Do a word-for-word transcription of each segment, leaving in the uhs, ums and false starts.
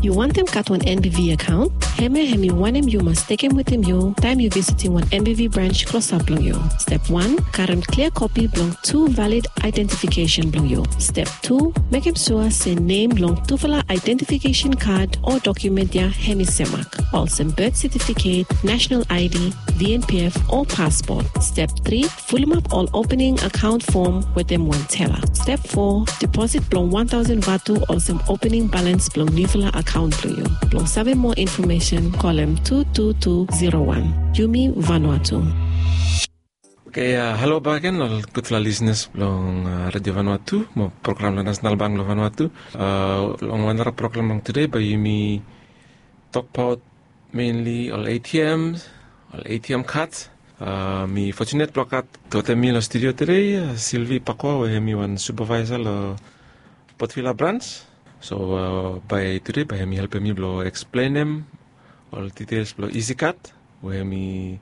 Yu wantem gat wan NBV akaon? Hemia hemi wanem yu mas tekem wetem yu taem yu visitim wan NBV brans klosap blong yu. Step wan, karem klia kopi blong tu valid aedentifikesen blong yu. Step tu, mekem sua se nem long tufala aedentifikesen kad o dokumen ya hemi semak, olsem birth setifiket, nasenal ID, VNPF o paspot. Step tri, fulumap ol opening akaon fom wetem wan tela. Step fo, deposit blong wan taosen vatu olsem opening balans blong niufala akaon blong yu. Blong save moa infomesen, kolem tu tu tu zero wan. Yumi Vanuatu. Oke, halo bakegen ol gudfala lisenas blong Redio Vanuatu mo program blong Nasenal Bank blong Vanuatu. Long wan nara program blong tude bae yumi tokbaot menli ol ATMs, ol ATM kads. Mi fotunet blong gat wetem mi long studio tude Silvi Pakoa we hemi wan supavaesa long Port Vila brans. So bae tude bae hemi helpem mi blong eksplenem ol ditels blong EasyCard we hemi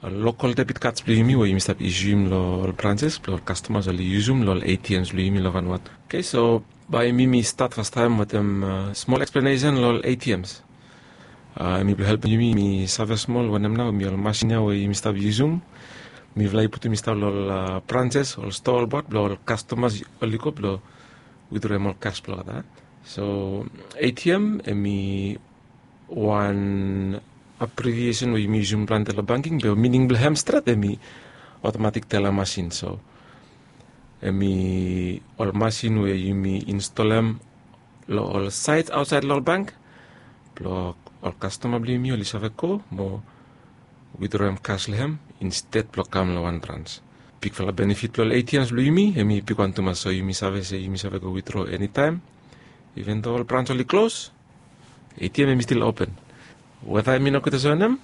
ol lokal debit kads blong yumi we yumi stap isium long ol branses blong ol kastomas oli yusum long ol ATMs blong yumi long Vanuatu. Oke, so bae mi mi stat fastaem wetem smol eksplenesen long ol ATMs. Hemi blong helpem yumi mi save smol wanem nao hemi ol masin ya we yumi stap yusum. Mifala i putum i stap long ol branses, ol stoa olbaot blong ol kastomas oli go blong withdraw ol kas blong olgeta. So ATM hemi wan abbreviesen we yumi yusum plante long banking be mining blong hem stret hemi automatic teller masin. So hemi ol masin we yumi instolem long ol saed aotsaed long ol bank blong ol kastoma blong yumi oli save go mo withdraw kas long hem insted blong kam long wan brans. Bigfala benefit blong ol ATMs blong yumi hemi bigwan tumas, so yumi save se yumi save go withdraw enitaem. Even do ol brans oli klos, ATM hemi stil open. Weta hemi nogud olsem wanem,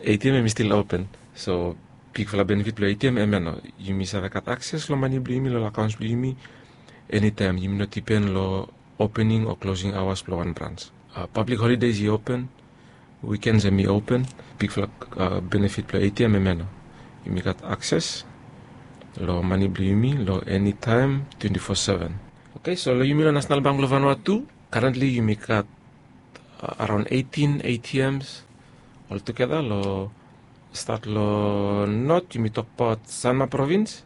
ATM hemi stil open. So bigfala benefit blong ATM hemia nao, yumi save gat akses long mane blong yumi long akaons blong yumi enitaem. Yumi no dipen long opening o klosing aoas blong wan brans. Pablik holides i open, wikens hemi open. Bigfala benefit blong ATM hemia nao, yumi gat akses long mane blong yumi long enitaem, twenti fo seven. Oke, so long yumi long Nasenal Bank blong Vanuatu, karentli yumi gat araon eitin ATMs oltugeta. Long stat long not yumi tokbaot Sanma provins.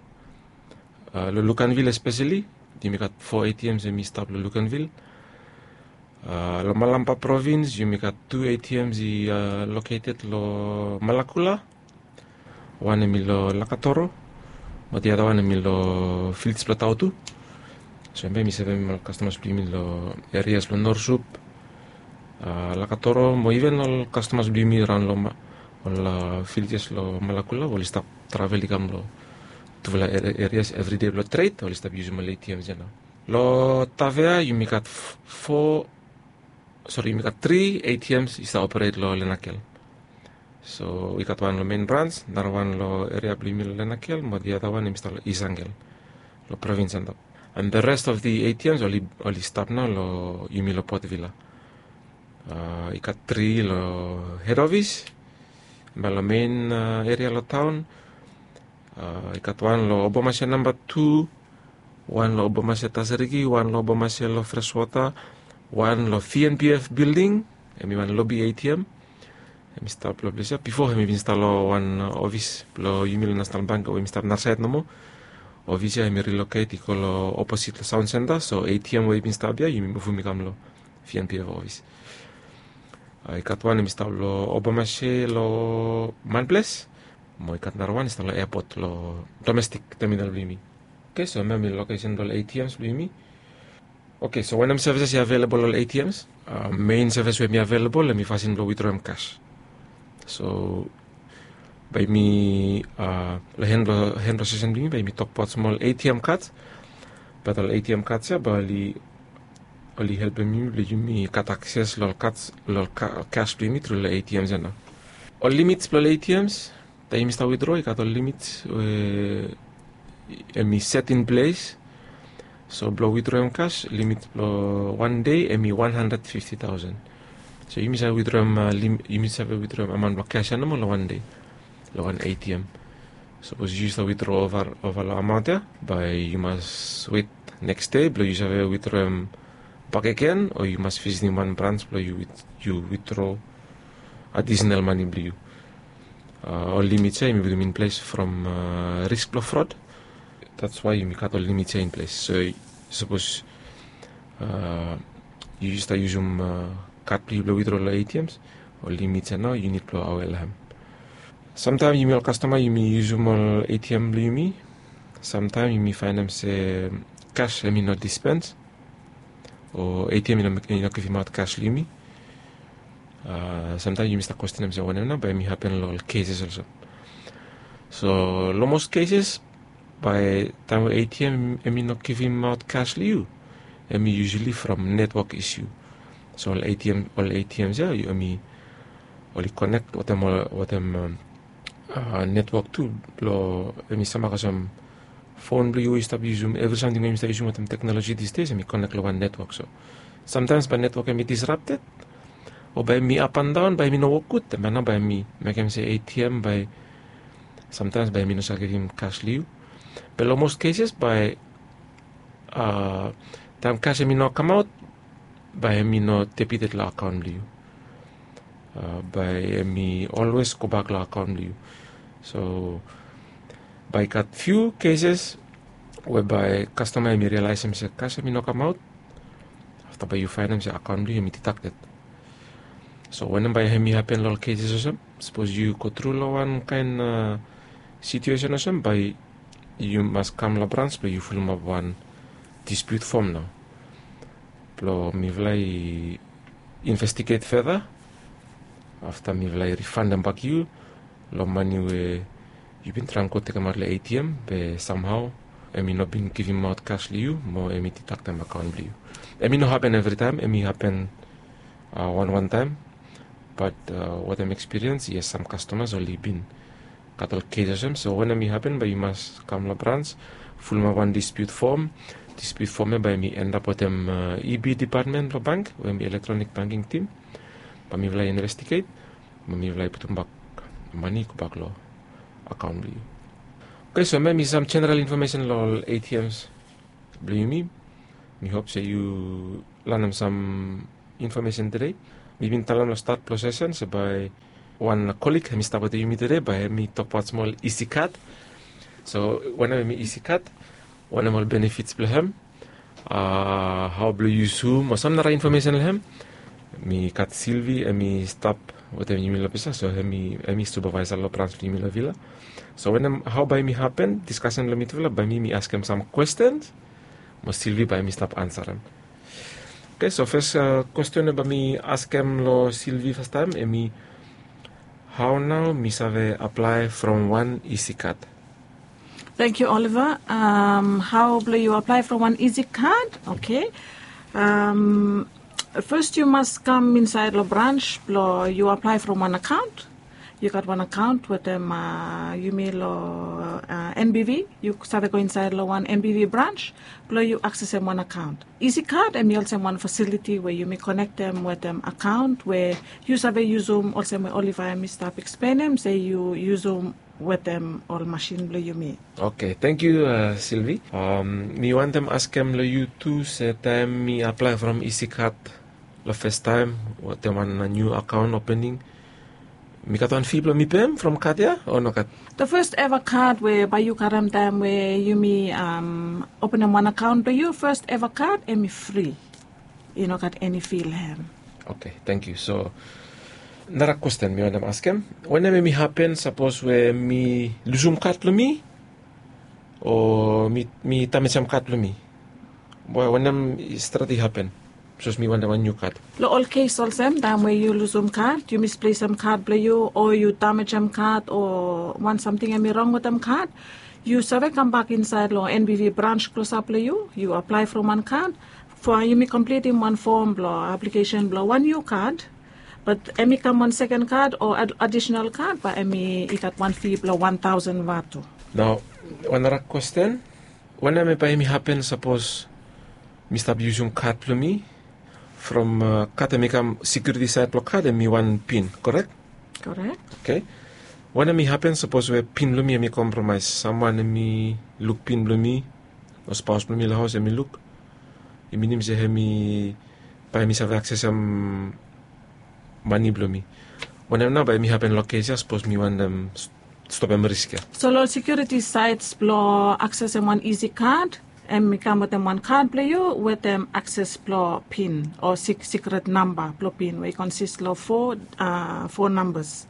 Long Luganville espeseli yumi gat fo ATMs hemi stap long Luganville. Long Malampa provins yumi gat tu ATMs i loketed long Malakula. Wan hemi long Lakatoro mo the other wan hemi long Village blong Tautu. So hemia hemi sevem ol kastomas blong yumi long erias blong Norsup, Lakatoro mo even ol kastomas blong yumi raon long ol villages long Malakula we oli stap travel i kam long tufala erias evridei blong tred oli stap yusum ol ATMs ya nao. Long Tavea yumi gat fo, sori, yumi gat tri ATMs i stap operet long Lenakel. So i gat wan long mein brans, narawan long eria blong yumi long Lenakel mo the other wan hemi stap long East Angle long provins antap. And the rest of the ATMs oli stap nao long yumi long Port Vila. I gat tri long hed ofis, hemia long mein eria long taon. I gat wan long Obomasia namba tu, wan long Obomasia Tasiriki, wan long Obomasia long Freswota, wan long VNPF bilding, hemi wan lobi ATM. Hemi stap long ples ya. Bifo hemi bin stap long wan ofis blong yumi long Nasenal Bank we hemi stap narasaed nomo. Ofis ya hemi riloket i go long oposit long Saon Senta, so ATM we i bin stap ya yumi muvum i kam long VNPF ofis. I gat wan hemi stap long Obomasia long Manples mo i gat narawan i stap long epot long domestik teminal blong yumi. Oke, so hemia hemi lokesen blong ol ATMs blong yumi. Oke, so wanem sevises i avelabol long ol ATMs? Mein sevis we hemi avelabol hemi fasin blong withdraw kas. So bae mi long hen blong sesen blong yumi bae mi tokbaot smol ATM kad. Bat ol ATM kad ya bae oli helpem yumi blong yumi gat akses long ol kas blong yumi tru long ATMs ya nao. Ol limits blong ol ATMs, taem yumi stap withdraw i gat ol limits we hemi set in ples. So blong withdraw kas, limit blong wan dei hemi wan handred fifti taosen. So yumi save withdraw, yumi save withdraw amaon blong kas ya nomo long wan dei, long wan ATM. Sapos yu stap withdraw ova long amaon ya, bae yu mas wet neks dei blong yu save withdraw bakegen o yu mas visitim wan brans blong yu witdro adisenal mane blong yu. Ol limits ya yumi putum in ples from risk blong frod. That's why yumi gat ol limits ya in ples. So sapos yu stap yusum kad blong yu blong witdro long atms, ol limits ya nao yu nid blong awea long hem. Samtaem yumi ol kastoma yumi yusum ol atm blong yumi. Samtaem yumi faenem se kas hem i no dispens o atm i no givimaot kas long yumi. Samtaem yumi stap kwestenem se wanem nao bae hem i hapen long ol keses olsem. So long mos keses bae taem we atm hem i no givimaot kas long yu, hem i yusali from netwok isiu. So ol atm ol atms ya hem i oli konek wetem netwok tu blong hem i samak olsem fon blong yu we yu stap yusum evri samting we yumi stap yusum wetem teknoloji disdes hem i konek long wan netwok. So samtaems bae netwok hem i disrapted o bae hem i apandaon bae hem i no wok gud, bae nao bae hem i mekem se atm bae samtaems bae hem i no save givim kas long yu. Be long mos keses bae taem kas hem i no kamaot bae hem i no debited long akaon blong yu. Bae hem i olwes gobak long akaon blong yu. So bae i gat fiu keses we bae kastoma hem i rialaesem se kas hem i no kamaot. Afta bae yu faenem se akaon blong yu hem i didakted. So wanem bae hem i hapen long ol keses olsem, sapos yu go tru long wan kaen situesen olsem bae yu mas kam long brans blong yu fulumap wan dispiut fom nao blong mifala i investiget feda. Afta mifala i rifandem bak yu long mane we yu bin traem go tekemaot long atm be samhao hem i no bin givimaot kas long yu mo hem i didaktem akaon blong yu. Hem i no hapen evritaem, hem i hapen wanwan taem. Bat wetem ekspiriens yes sam kastomas oli bin gat ol kes olsem. So wanem i hapen bae yu mas kam long brans, fulumap wan dispiut fom. Dispiut fom ya bae hem i endap wetem eb dipatmen blong bank we hem i elektronik banking tim. Bae mifala i investiget bae mifala i putumbak mane i gobak long akaon blong yu. Oke, so hemia hem i sam jeneral infomesen long ol atms blong yumi. Mi hop se yu lanem sam infomesen tede. Mi bin talem long stat blong sesen se bae wan kolig hem i stap wetem yumi tede bae hem i tokbaot smol isi kad. So wanem hem i isi kad, wanem ol benefits blong hem, hao blong yusum o sam nara infomesen long hem. Mi gat silvi hem i stap wetem yumi long pesa so hem i supavaesa long brans blong yumi long vila. So wanem hao bae hem i hapen diskasen long mitufala bae mi mi askem sam kwestens mo silvi bae hem i stap ansarem. Oke, so fes kwesten we bae mi askem long silvi fastaem hem i, hao nao mi save aplae from wan isi kad? Tangkiu oliva. Hao blong yu aplae from wan isi kad? Oke. Fes yu mas kam insaed long brans blong yu aplae from wan akaon. Yu gat wan akaon wetem yumi long nbv. Yu save go insaed long wan nbv brans blong yu aksesem wan akaon. Isi kad hem i olsem wan fasiliti we yumi konektem wetem akaon we yu save yusum olsem we oliva hem i stap eksplenem se yu yusum wetem ol masin blong yumi. Oke, tangkiu silvi. Mi wantem askem long yu tu se taem mi aplae from isi kad long festaem wetem wan niu akaon opening, mi gat wan fi blong mi pem from kad ya o nogat? The first eva kad we bae yu karem taem we yumi openem wan akaon blong yu, first eva kad hem i fri. I nogat eni fi long hem. Oke, tangkiu. So nara kwesten mi wantem askem, wanem hem i hapen sapos we mi lusum kad blong mi o mi damejem kad blong mi? Wanem i stret i hapen sapos mi wantem wan niu kad? Long ol kes olsem taem we yu lusum kad, yu misplesem kad blong yu o yu damejem kad o wan samting hem i rong wetem kad, yu save kambak insaed long nbv brans klosap blong yu, yu aplae from wan kad. Fo yumi komplitim wan fom blong aplikesen blong wan niu kad, bat hem i kam wan seken kad o adisenal kad bae hem i gat wan fi blong wan taosen vatu. Nao wan nara kwesten, wanem bae hem i hapen sapos mi stap yusum kad blong mi? From kad hem i kam, sekiuriti saed blong kad hem i wan pin, korek? Korek. Oke. Wanem i hapen sapos we pin blong mi hem i kompromaes? Samwan hem i luk pin blong mi o spaos blong mi long haos hem i luk, I minim se hemi bae mi save aksesem mane blong mi. Wanem nao bae mi hapen long kes ya sapos mi wantem stopem risk ya? So long sekiuriti saed blong aksesem wan Easy Card, hem i kam wetem wan kad blong yu wetem akses blong pin o sikret namba blong pin we i konsis long fo nambas.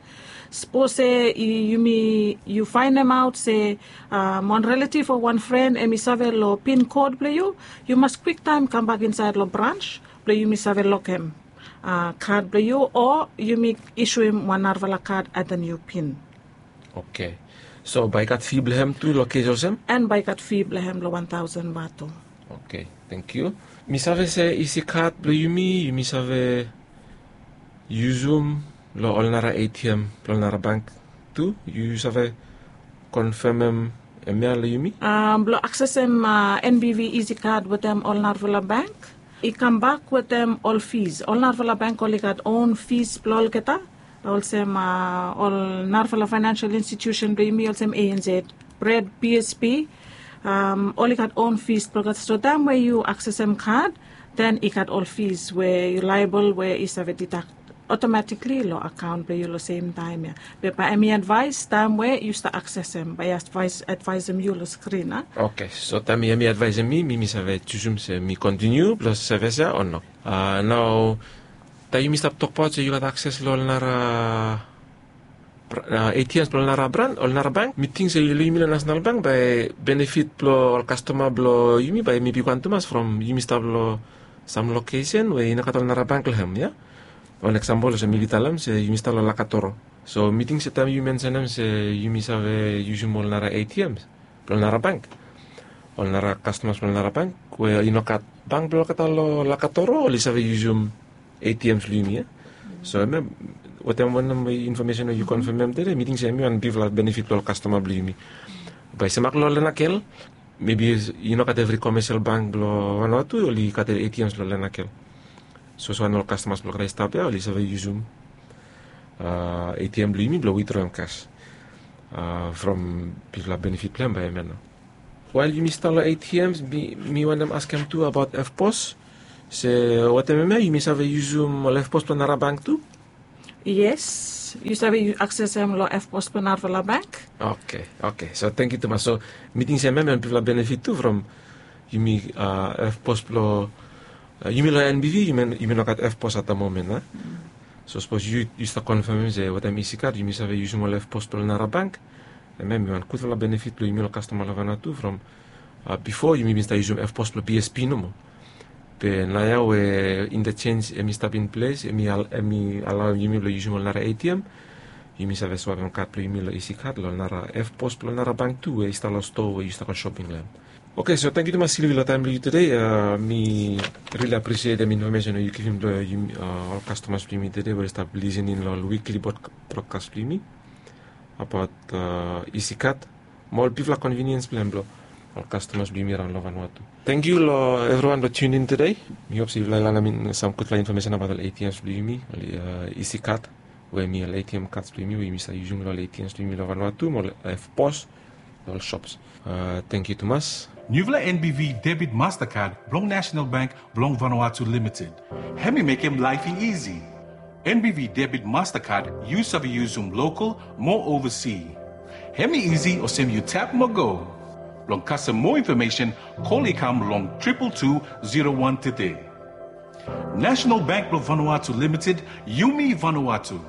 Sapos se yumi yu faenemaot se wan relativ o wan fren hem i save long pin kod blong yu, yu mas kwiktaem kambak insaed long brans blong yumi save lokem kad blong yu o yumi isuem wan narafala kad ata niu pin. Oke. So bae i gat fi blong hem tu long kes olsem? An bae i gat fi blong hem long wan taosen bato. Oke, tangkiu. Mi save se isi kad blong yumi yumi save yusum long ol nara A T M blong nara bank tu? Yu save konfemem hemia long yumi? Blong aksesem N B V isi kad wetem ol narafala bank i kambak wetem ol fis. Ol narafala bank oli gat on fis blong olgeta, olsem ol narafala faenansial institiusen blong yumi olsem A N Z, bred, B S P, oli gat on fis blong olgeta. So taem we yu aksesem kad, den i gat ol fis we yu laebol we i save didak otomatikli long akaon blong yu long semtaem ya. Be bae hem i advaes taem we yu stap aksesem bae i advaesem yu long skrin a. Oke, so taem hem i advaesem mi mi mi save jusum se mi kontiniu blong seves ya o no? Nao taem yumi stap tokbaot se yu gat akses long ol nara A T Ms blong ol nara bran ol nara bank, mi ting se long yumi long nasenal bank bae benefit blong ol kastoma blong yumi bae mi bigwan tumas from yumi stap long sam lokesen we i no gat ol nara bank long hem ya. Wan eksampol olsem mi bin talem se yumi stap long lakatoro. So mi ting se taem yu mensenem se yumi save yusum ol nara A T Ms blong nara bank, ol nara kastomas blong nara bank we i no gat bank blong olgeta long lakatoro oli save yusum A T Ms blong yumi ya. So hemia wetem wanem infomesen we yu konfemem tede mi ting se hemi wan bigfala benefit blong ol kastoma blong yumi. Bae semak long lenakel, mebi i no gat evri komesel bank blong Vanuatu oli gat A T Ms long lenakel. So olsem wan ol kastomas blong olgeta i stap ya oli save yusum A T M blong yumi blong witroem kas. From bigfala benefit blong hem bae hemia nao. Wael yumi stap long A T Ms mi wantem askem tu abaot F pos, se wetem hemia yumi save yusum ol F pos blong nara bank tu? Yes, yu save aksesem long F pos blong narafala bank. Oke, oke, so tangkiu tumas. So mi ting se hemia hem wan bigfala benefit tu from yumi F pos blong yumi long N B V yumi no gat F pos at the moment a. So sapos yu stap konfemem se wetem isi kad yumi save yusum ol F pos blong nara bank, hemia hem i wan gudfala benefit blong yumi ol kastoma long Vanuatu from bifo yumi bin stap yusum F pos blong B S P nomo. Be naoia we interchange hem i stap in ples hem i alaoem yumi blong yusum ol nara A T M, yumi save swapem kad blong yumi long isi kad long nara F pos blong nara bank tu we i stap long stoa we yu stap go shoping long hem. Oke, so tangkiu tumas Silvi long taem blong yu tede. Mi rili apresietem infomesen we yu givim long ol kastomas blong yumi tede we oli stap lisening long ol wikli brodkas blong yumi abaot isi kad mo ol bigfala konviniens blong hem blong ol kastomas blong yumi raon long Vanuatu. Tangkiu long evriwan blong tunin tede. Mi hop se yufala i lanem sam gudfala infomesen abaot ol A T Ms blong yumi, ol isi kad we hem i ol A T M kads blong yumi we yumi save yusum long ol A T Ms blong yumi long Vanuatu mo ol F pos long ol shops. Tangkiu tumas. Niufala N B V debit Mastercard blong National Bank blong Vanuatu Limited. Hem i mekem laef i isi. N B V debit Mastercard yu save yusum local mo ovasi. Hem i isi olsem yu tap mo go. Blong kasem moa infomesen, kol i kam long triple two zero one tede. National Bank blong Vanuatu Limited, yumi Vanuatu.